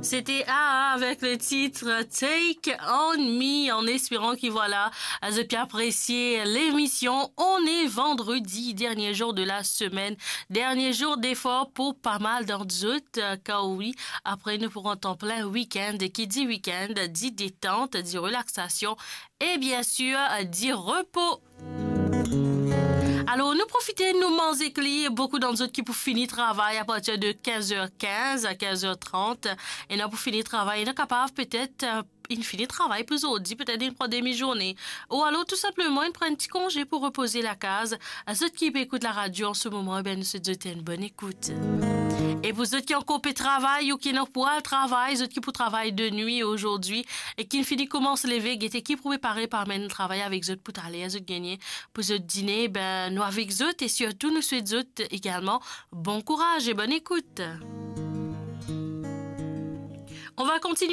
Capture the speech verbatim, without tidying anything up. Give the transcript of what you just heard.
C'était A A avec le titre Take On Me, en espérant que voilà, zot pe apresie lemision. On est vendredi, dernier jour de la semaine, dernier jour d'effort pour pas mal d'entre zot, euh, car oui, après nous pourrons en plein week-end, et qui dit week-end dit détente, dit relaxation, et bien sûr, euh, dit repos. Alor, nou profite, nou manz ek li, boukou dan zot ki pou fini travay apartir de kinz er kinz a kinz er trant, e nou pou fini travay, nou kapav petet, euh, inn fini travay pou zordi, petet inn pran demi zourne, ou alor tou sinpleman inn pran enn ti konze pou repoze lakaz. Zot ki pe ekout laradio an se moman, e ben, nou swet zot enn bonn ekout. E pou zot ki ankor pe travay ou ki ena pou al travay, zot ki pou travay de nwi azordi, e ki'nn fini koumans leve, gete ki pou prepare pou amenn travay avek zot pou taler, zot gagn pou zot dine, ben, nou avek zot e sirtou nou swet zot egalman bon kouraz e bonn ekout. On va continuer